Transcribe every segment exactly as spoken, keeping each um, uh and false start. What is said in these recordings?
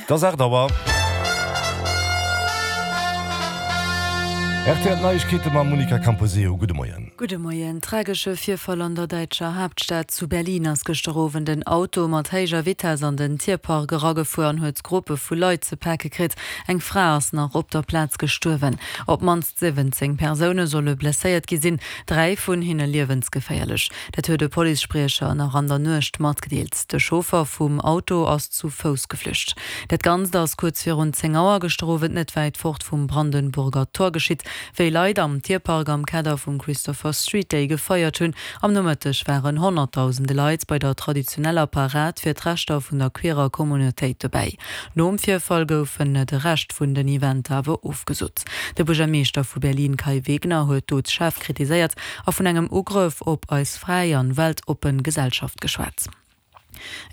Et ass aacht Auer. Rtl Neiegkeete mam Monica Camposeo. Gudde Moien. Gudde Moien. Tragesche Virfall an der däitscher Haaptstad. Zu Berlin ass gëschter Owend en Auto mat héijer Vitess an den Tierpark eragefuer an huet Gruppe vu Leit ze pake kritt. Eng Fra ass nach op der Plaz gestuerwen. Op d'mannst siwwenzéng Persoune solle blesséiert gi sinn, dräi vun hinne liewensgeféierlech. Dat huet e Policespriecher nach an der Nuecht matgedeelt. De Chauffer vum Auto ass zu Fouss geflücht. Dat Ganzt ass kuerz virun zéng Auer gëschter Owend net wäit fort vum Brandenburger Tor geschitt, wéi Leit am Tierpark am Kader vum Christopher Street Day gefeiert hunn. Am Nomëtteg waren Honnertdausende Leit bei der traditioneller Parad fir d'Rechter vun der queerer Communautéit dobäi. Nom Virfall goufen de Rescht vun den Eventer awer ofgesot. De Buergermeeschter vu Berlin Kai Wegner huet d'Dot schaarf kritiséiert a vun engem Ugrëff op eis fräi an weltoppen Gesellschaft geschwat.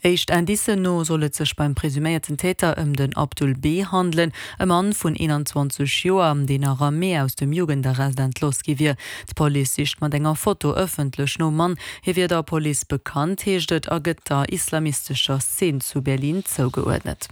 Éischt Indicen no soll et sech beim presuméierten Täter ëm den Abdul B. handelen, e Mann vun eenanzwanzeg Joer, deen nach am Mee aus dem Jugendarrest entlooss gi wier. D'Police sicht mat enger Foto ëffentlech nom Mann. Hie wier der Police bekannt, heescht et, a gëtt der islamistescher Szene zu Berlin zougeuerdnet.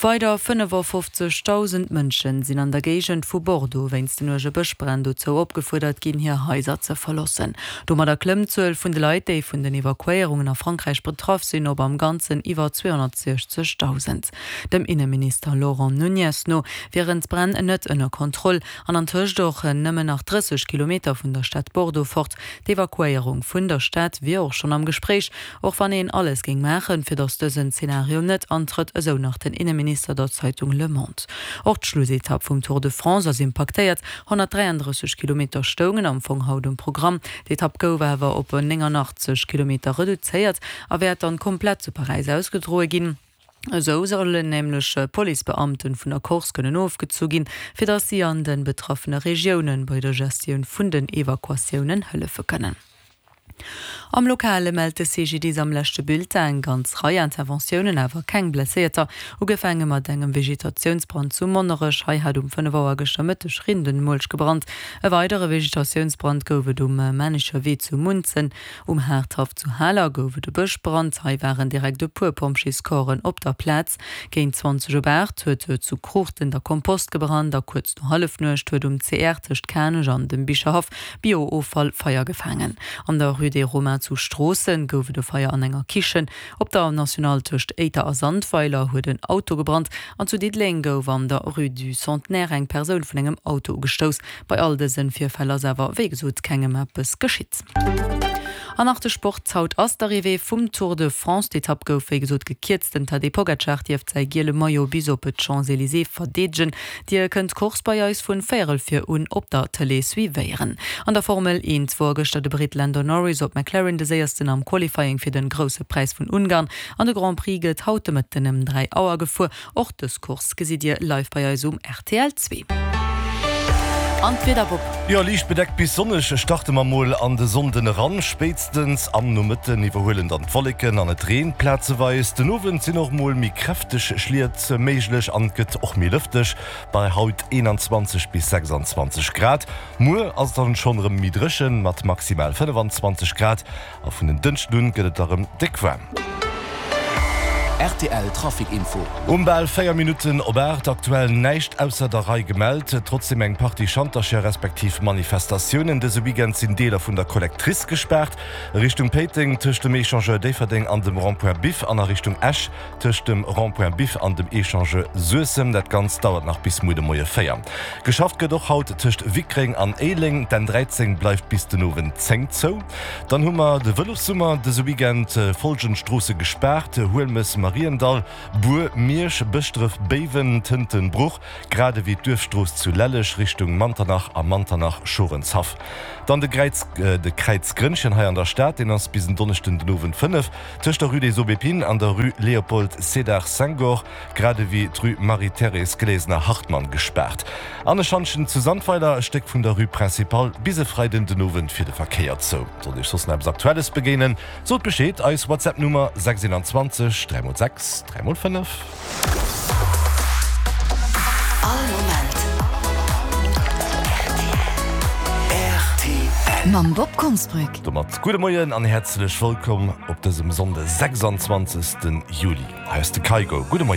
Weider fënnefafofzegdausend Mënschen sinn an der Géigend vu Bordeaux wéinst den uerge Bëschbränn dozou opgefuerdert ginn, hir Haiser ze verloossen. Domadder klëmmt d'Zuel vun de Leit, déi vun den Evakuéierungen a Frankräich betraff sinn, op am Ganzen iwwer zweehonnertsechzegdausend. Dem Inneminister Laurent Nunez no wieren d'Bränn net ënner Kontroll an antëscht och nëmmen nach drësseg Kilometer vun der Stad Bordeaux fort. D'Evakuéierung vun der Stad wier och schonn am Gespréich, och wann een alles géing maachen, fir datt dësen Zenario net antrëtt, esou nach den Inneminister der Zeitung Le Monde. Och d'Schlussetapp vum Tour de France ass impaktéiert, honnertdräiandrësseg Kilometer stoungen am Fong haut um Programm. D'Etapp gouf awer op néngannachtzeg Kilometer reduzéiert a wäert dann komplett zu Paräis ausgedroe ginn. Esou sollen nämlech Policebeamten vun der Course kënnen ofgezu ginn, fir datt si an de betraffene Regiounen bei der Gestioun vun den Evakuatiounen hëllefe kënnen. Am Lokale mellt de C G D I S am leschte Bulletin eng ganz Rei Interventiounen, awer keng Blesséierter. Ugefaange mat engem Vegetatiounsbrand zu Monnerech. Hei hat um fënnef Auer gëschter Mëtteg Rindenmulch gebrannt. E weidere Vegetatiounsbrand gouf et um Männecher Wee zu Munzen. Um Haardhaff zu Haler gouf et e Bëschbrand. Hei waren direkt e puer Pompjeescorpsen op der Plaz. Géint zwanzeg op aacht huet et zu Kruuchten der Kompost gebrannt a kuerz no Hallefnuecht huet um C R tëscht Kanech an dem Bicherhaff Bio-Offall Feier gefaangen. An der Rue des Romains zu Stroossen gouf et e Feier an enger Kichen. Op der Nationale tëscht Éiter a Sandweiler huet en Auto gebrannt an zu Diddeleng gouf an der Rue du Centenaire eng Persoun vun engem Auto ugestouss. Bei all dëse Virfäll ass awer wéi gesot kengem eppes geschitt. An nach de Sport, Haut ass d'Arrivée vum Tour de France. D'Etapp gouf wéi gesot gekierzt. Den Tadej Pogacar dierft säi giele Maillot bis op d'Champs-Elysées verdeedegen. Dir kënnt d'Course bei eis vun véierel vir un op der Tëlee suivéieren. An der Formel eent wor gëschter de Britt Lando Norris op McLaren de séiersten am Qualifying fir den Grousse Präis vun Ungarn. An de Grand Prix gëtt haut de Mëtten ëm dräi Auer gefuer. Och dës Course gesitt Dir live bei eis um R T L zwee. An d'Wieder, Bob? Jo, liicht bedeckt bis sonneg starte mer mol an de Sonnden eran. Spéitstens am Nomëtten iwwerhuelen dann d'Wolleken an et reent plazeweis. Den Owend sinn och mol méi kräfteg Schliet méiglech an et gëtt och méi lëfteg bei haut eenanzwanzeg bis sechsanzwanzeg Grad. Muer ass et dann schonn erëm méi dréchen mat maximal fënnefanzwanzeg Grad a vun en Dënschden un gëtt et da rëm déck waarm. R T L Trafic Info. Um bal véier Minutten op aacht, aktuell näischt ausser der Rei gemellt, trotzdem eng Partie Schantercher respektiv Manifestatiounen. Dëse Weekend sinn Deeler vun der Collectrice gespaart, Richtung Péiteng tëscht dem Echangeur Déifferdeng an dem Rond-point Biff an a Richtung Esch tëscht dem Rond-point Biff an dem Echangeur Suessem. Dat Ganzt dauert nach bis muer de Moie véier. Geschafft gëtt och haut tëscht Wickreng an Éileng. D'N dräizéng bleift bis den Owend zéng zou. Dann hu mer de Vëlossummer dëse Weekend, Folgend Stroosse gespaart, Huelmes, Mariendall, Bur, Miersch, Bëschdref, Béiwen, Tënten, Bruch, grad ewéi d'Duerfstrooss zu Lelleg Richtung Manternach a Manternach, Schorenshaff. Dann de Gräiz, de Kräiz Grënnchen hei an der Stad, deen ass bis en Donneschden den Owend fënnef, tëscht der Rue des Aubépines an der Rue Léopold Sédar Senghor, grad ewéi d'Rue Marie-Thérèse Glesener-Hartmann gespaart. An e Schantjen zu Sandweiler, e Stéck vun der Rue Principale, bis e Freiden den Owend fir de Verkéier zou. Sollt Iech soss nach eppes Aktuelles begéinen, sot Bescheed, eis WhatsApp-Nummer sechs eenanzwanzeg dräi mol sechs dräi mol fënnef. All Moment R T L. Mam Bob Konsbrück. Domat gudde Moien an häerzlech wëllkomm op dësem Sonnde sechsanzwanzegste Juli. Hei ass de Kygo. Gudde Moien.